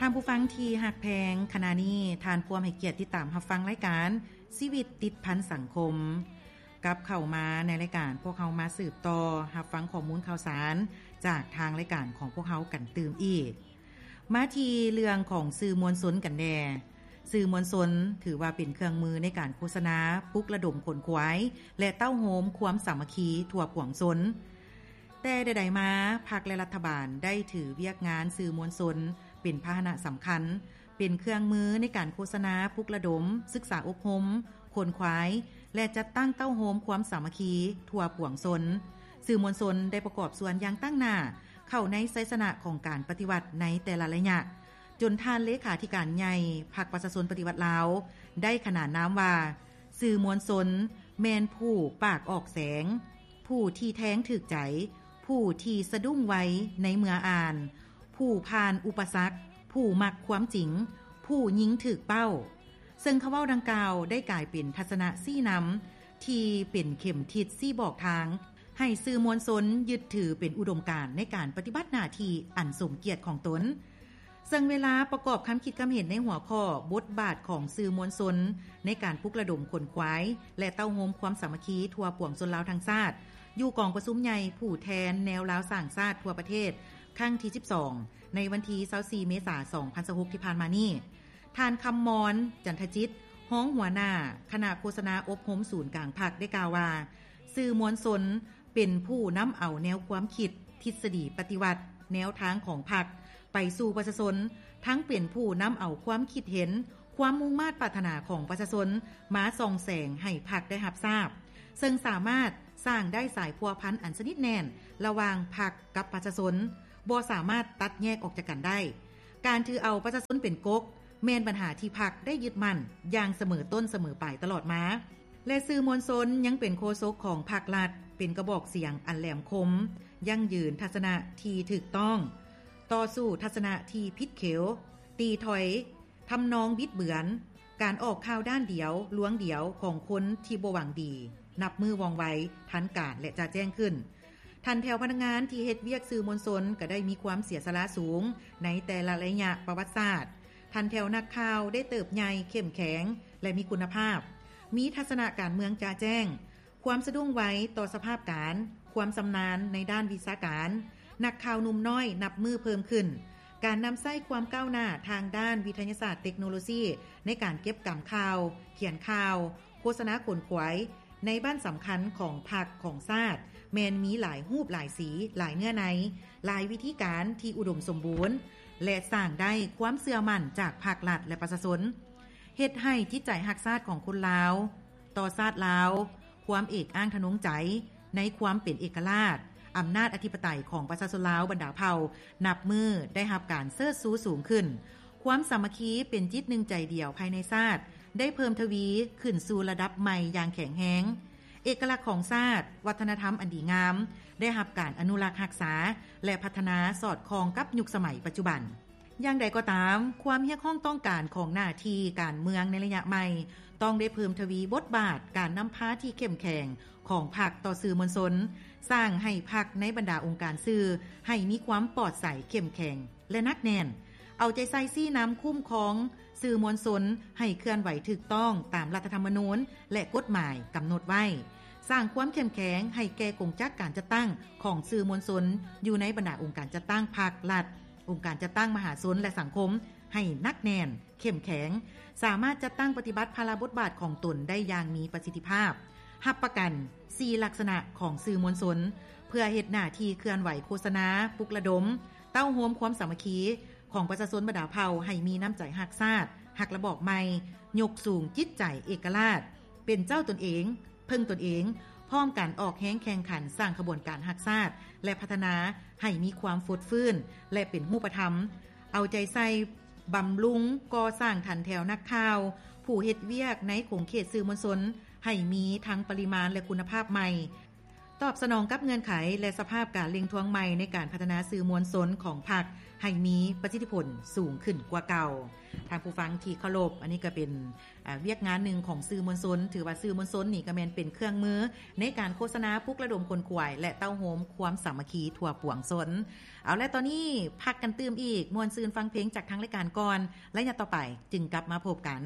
ທ່ານຜູ້ຟັງທີ່ຮັກແພງ, ຂະນະນີ້ທ່ານພວມໃຫ້ກຽດຕິດຕາມຮັບຟັງລາຍການຊີວິດຕິດພັນສັງຄົມ. ກັບເຂົ້າມາໃນລາຍການ, ພວກເຮົາມາສືບຕໍ່ຮັບຟັງຂໍ້ມູນຂ່າວສານຈາກທາງລາຍການຂອງພວກເຮົາກັນຕື່ມອີກ. ມາທີ່ເລື່ອງຂອງສື່ມວນຊົນກັນແດ່. ສື່ມວນຊົນຖືວ່າເປັນເຄື່ອງມືໃນການໂຄສະນາ, ປຸກລະດົມຂົນຂວາຍ ແລະ ເຕົ້າໂຮມຄວາມສາມັກຄີທົ່ວປວງຊົນ. ແຕ່ໃດໆມາ, ພັກ ແລະ ລັດຖະບານໄດ້ຖືວຽກງານສື່ມວນຊົນເປັນພາຫະນະສຳຄັນ, ເປັນເຄື່ອງມືໃນການໂຄສະນາ, ປຸກລະດົມ, ສຶກສາອົບຮົມ, ຂົນຂວາຍ ແລະ ຈັດຕັ້ງເຕົ້າໂຮມຄວາມສາມັກຄີທົ່ວປວງຊົນ. ສື່ມວນຊົນໄດ້ປະກອບສ່ວນຢ່າງຕັ້ງໜ້າເຂົ້າໃນໄຊຊະນະຂອງການປະຕິວັດໃນແຕ່ລະໄລຍະ, ຈົນທ່ານເລຂາທິການໃຫຍ່ພັກປະຊາຊົນປະຕິວັດລາວ ໄດ້ຂະໜານນາມວ່າ ສື່ມວນຊົນແມ່ນຜູ້ປາກອອກແສງ, ຜູ້ທີ່ແທງຖືກໃຈ, ຜູ້ທີ່ສະດຸ້ງໄວໃນເມື່ອອ່ານ, ຜູ້ຜ່ານອຸປະສັກ, ຜູ້ມັກຄວາມຈິງ, ຜູ້ຍິງຖືກເປົ້າ. ເຊິ່ງຄຳເວົ້າດັ່ງກ່າວໄດ້ກາຍເປັນທັດສະນະຊີ້ນຳທີ່ເປັນເຂັມທິດຊີ້ບອກທາງ ໃຫ້ສື່ມວນຊົນຍຶດຖືເປັນອຸດົມການໃນການປະຕິບັດໜ້າທີ່ອັນສົມກຽດຂອງຕົນ. ເຊິ່ງເວລາປະກອບຄຳຄິດຄຳເຫັນໃນຫົວຂໍ້ບົດບາດຂອງສື່ມວນຊົນໃນການປຸກລະດົມຂົນຂວາຍ ແລະ ເຕົ້າໂຮມຄວາມສາມັກຄີທົ່ວປວງຊົນລາວທັງຊາດ ຢູ່ກອງປະຊຸມໃຫຍ່ຜູ້ແທນແນວລາວສ້າງຊາດທົ່ວປະເທດ ຄັ້ງທີສິບສອງ ໃນວັນທີຊາວສີ່ ເມສາ ສອງພັນຊາວຫົກ ທີ່ຜ່ານມານີ້, ທ່ານ ຄຳມອນ ຈັນທະຈິດ ຮອງຫົວໜ້າຄະນະໂຄສະນາອົບຮົມສູນກາງພັກ ໄດ້ກ່າວວ່າ ສື່ມວນຊົນເປັນຜູ້ນຳເອົາແນວຄວາມຄິດ, ທິດສະດີປະຕິວັດ, ແນວທາງຂອງພັກໄປສູ່ປະຊາຊົນ, ທັງເປັນຜູ້ນຳເອົາຄວາມຄິດເຫັນ, ຄວາມມຸ່ງມາດປາດຖະໜາຂອງປະຊາຊົນມາສ່ອງແສງໃຫ້ພັກໄດ້ຮັບຊາບ, ເຊິ່ງສາມາດສ້າງໄດ້ສາຍພົວພັນອັນສະໜິດແໜ້ນລະຫວ່າງພັກກັບປະຊາຊົນ, ບໍ່ສາມາດຕັດແຍກອອກຈາກກັນໄດ້. ການຖືເອົາປະຊາຊົນເປັນກົກ ແມ່ນບັນຫາທີ່ພັກໄດ້ຍຶດໝັ້ນຢ່າງສະເໝີຕົ້ນສະເໝີປາຍຕະຫຼອດມາ ແລະ ສື່ມວນຊົນຍັງເປັນໂຄສົກຂອງພັກລັດ, ເປັນກະບອກສຽງອັນແຫຼມຄົມ, ຢັ້ງຢືນທັດສະນະທີ່ຖືກຕ້ອງ, ຕໍ່ສູ້ທັດສະນະທີ່ຜິດເຂວ, ຕີຖອຍທຳນອງບິດເບືອນ, ການອອກຂ່າວດ້ານດຽວ, ລວງດຽວຂອງຄົນທີ່ບໍ່ຫວັງດີ, ນັບມື້ວ່ອງໄວ, ທັນການ ແລະ ຈະແຈ້ງຂຶ້ນ. ຖັນແຖວພະນັກງານທີ່ເຮັດວຽກສື່ມວນຊົນກໍໄດ້ມີຄວາມເສຍສະຫຼະສູງໃນແຕ່ລະໄລຍະປະຫວັດສາດ. ຖັນແຖວນັກຂ່າວໄດ້ເຕີບໃຫຍ່, ເຂັ້ມແຂງ ແລະ ມີຄຸນນະພາບ, ມີທັດສະນະການເມືອງຈະແຈ້ງ, ຄວາມສະດຸ້ງໄວຕໍ່ສະພາບການ, ຄວາມຊຳນານໃນດ້ານວິຊາການ, ນັກຂ່າວໜຸ່ມນ້ອຍນັບມື້ເພີ່ມຂຶ້ນ, ການນຳໃຊ້ຄວາມກ້າວໜ້າທາງດ້ານວິທະຍາສາດເຕັກໂນໂລຊີໃນການເກັບກຳຂ່າວ, ຂຽນຂ່າວ, ໂຄສະນາຂົນຂວາຍ ໃນບ້ານສຳຄັນຂອງພັກຂອງຊາດ ແມ່ນມີຫຼາຍຮູບຫຼາຍສີ, ຫຼາຍເນື້ອໃນ, ຫຼາຍວິທີການທີ່ອຸດົມສົມບູນ ແລະ ສ້າງໄດ້ຄວາມເຊື່ອໝັ້ນຈາກພາກລັດ ແລະ ປະຊາຊົນ, ເຮັດໃຫ້ຈິດໃຈຮັກຊາດຂອງຄົນລາວ ຕໍ່ຊາດລາວ, ຄວາມເອກອ້າງທະນົງໃຈໃນຄວາມເປັນເອກະລາດ, ອຳນາດອະທິປະໄຕຂອງປະຊາຊົນລາວບັນດາເຜົ່າ ນັບມື້ໄດ້ຮັບການເຊີດຊູສູງຂຶ້ນ. ຄວາມສາມັກຄີເປັນຈິດໜຶ່ງໃຈດຽວພາຍໃນຊາດ ໄດ້ເພີ່ມທະວີຂຶ້ນສູ່ລະດັບໃໝ່ຢ່າງແຂງແຮງ. ເອກະລັກຂອງຊາດ, ວັດທະນະທຳອັນດີງາມ ໄດ້ຮັບການອະນຸລັກຮັກສາ ແລະ ພັດທະນາສອດຄ່ອງກັບຍຸກສະໄໝປັດຈຸບັນ. ຢ່າງໃດກໍຕາມ, ຄວາມຮຽກຮ້ອງຕ້ອງການຂອງໜ້າທີ່ການເມືອງໃນໄລຍະໃໝ່ ຕ້ອງໄດ້ເພີ່ມທະວີບົດບາດການນຳພາທີ່ເຂັ້ມແຂງຂອງພັກຕໍ່ສື່ມວນຊົນ, ສ້າງໃຫ້ພັກໃນບັນດາອົງການສື່ໃຫ້ມີຄວາມປອດໃສ, ເຂັ້ມແຂງ ແລະ ໜັກແໜ້ນ, ເອົາໃຈໃສ່ຊີ້ນຳຄຸ້ມຄອງສື່ມວນຊົນໃຫ້ເຄື່ອນໄຫວຖືກຕ້ອງຕາມລັດຖະທຳມະນູນ ແລະ ກົດໝາຍກຳນົດໄວ້, ສ້າງຄວາມເຂັ້ມແຂງໃຫ້ແກ່ກົງຈັກການຈັດຕັ້ງຂອງສື່ມວນຊົນຢູ່ໃນບັນດາອົງການຈັດຕັ້ງພັກ, ລັດ, ອົງການຈັດຕັ້ງມະຫາຊົນ ແລະ ສັງຄົມໃຫ້ໜັກແໜ້ນ, ເຂັ້ມແຂງ, ສາມາດຈັດຕັ້ງປະຕິບັດພາລະບົດບາດຂອງຕົນໄດ້ຢ່າງມີປະສິດທິພາບ. ຮັບປະກັນສີ່ລັກສະນະຂອງສື່ມວນຊົນ ເພື່ອເຮັດໜ້າທີ່ເຄື່ອນໄຫວໂຄສະນາ, ປຸກລະດົມ, ເຕົ້າໂຮມຄວາມສາມັກຄີຂອງປະຊາຊົນບັນດາເຜົ່າໃຫ້ມີນ້ຳໃຈຮັກຊາດ, ຮັກລະບອບໃໝ່, ຍົກສູງຈິດໃຈເອກະລາດ, ເປັນເຈົ້າຕົນເອງ, ເພິ່ງຕົນເອງ, ພ້ອມກັນອອກແຮງແຂ່ງຂັນສ້າງຂະບວນການຮັກຊາດ ແລະ ພັດທະນາໃຫ້ມີຄວາມຟົດຟື້ນ ແລະ ເປັນຮູບປະທຳ, ເອົາໃຈໃສ່ບຳລຸງ, ກໍ່ສ້າງຖັນແຖວນັກຂ່າວ, ຜູ້ເຮັດວຽກໃນຂົງເຂດສື່ມວນຊົນ ໃຫ້ມີທັງປະລິມານ ແລະ ຄຸນນະພາບໃໝ່, ຕອບສະໜອງກັບເງື່ອນໄຂ ແລະ ສະພາບການເລັ່ງທວງໃໝ່ໃນການພັດທະນາສື່ມວນຊົນຂອງພັກ ໃຫ້ມີປະສິດທິຜົນສູງຂຶ້ນກວ່າເກົ່າ. ທ່ານຜູ້ຟັງທີ່ເຄົາລົບ, ອັນນີ້ກໍເປັນ ອາ ວຽກງານໜຶ່ງຂອງສື່ມວນຊົນ, ຖືວ່າສື່ມວນຊົນນີ້ກໍແມ່ນເປັນເຄື່ອງມືໃນການໂຄສະນາ ປຸກລະດົມຂົນຂວາຍ ແລະ ເຕົ້າໂຮມຄວາມສາມັກຄີທົ່ວປວງຊົນ. ເອົາ ແລະ ຕອນນີ້ພັກກັນຕື່ມອີກ, ມ່ວນຊື່ນຟັງເພງຈາກທາງລາຍການກ່ອນ, ໄລຍະຕໍ່ໄປຈຶ່ງກັບມາພົບກັນ.